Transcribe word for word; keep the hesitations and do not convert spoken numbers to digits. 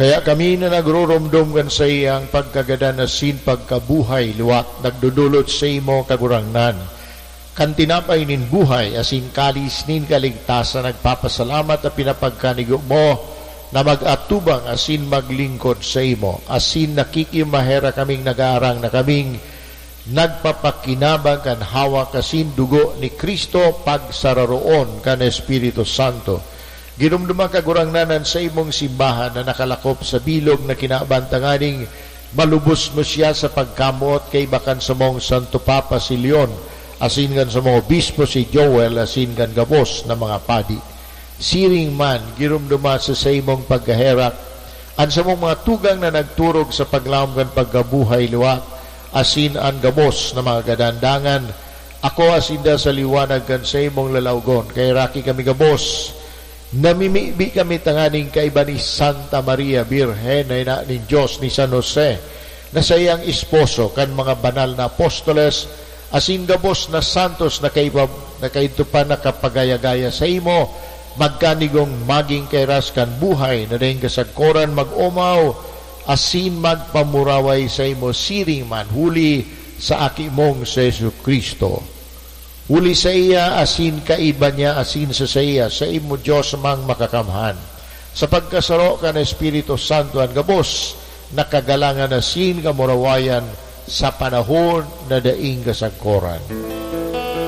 Kaya kami na nagruromdom kan saiyang pagkagadan asin pagkabuhay liwat, nagdodolot saimo, Kagurangnan, kan tinapay nin buhay asin kalis nin kaligtasan, nagpapasalamat ta pinapagkanigo mo na mag-atubang asin maglingkod saimo, asin nakikimaherak kaming nagaarang na kaming nagpapakinabang kan hawak asin dugo ni Cristo pagsararoon kan Espiritu Santo. Ginomdoma, Kagurangnan, an saimong simbahan na nakalakop sa bilog na kinaban, tanganing malubos mo siya sa pagkamoot kaiba kan samong Santo Papa si Leon, asin kan samong obispo si Joel, asin kan gabos na mga padi. Siring man, giromdoma sa saimong pagkaherak an samong mga tugang na nagturog sa paglaom kan pagkabuhay liwat, asin an gabos na mga kadandangan. Akoa sinda sa liwanag kan saimong lalawgon. Kaheraki kami gabos. Namimibi kami tanganing kaiba ni Santa Maria Birhen na ina nin Dios, ni San Jose na saiyang esposo, kan mga banal na apostoles, asin gabos na santos na kaiba, na kaidto pa nakapagaya-gaya saimo, magkanigong magin kairas kan buhay na daing kasagkoran, mag-omaw asin magpamuraway saimo siring man, huli sa Aki mong si Jesu-Cristo. Huli saiya asin kaiba niya asin sa saiya, saimo, Dios Amang Makakamhan, sa pagkasaro kan Espiritu Santo, an gabos na kagalangan asin kamurawayan sa panahon na daing kasagkoran.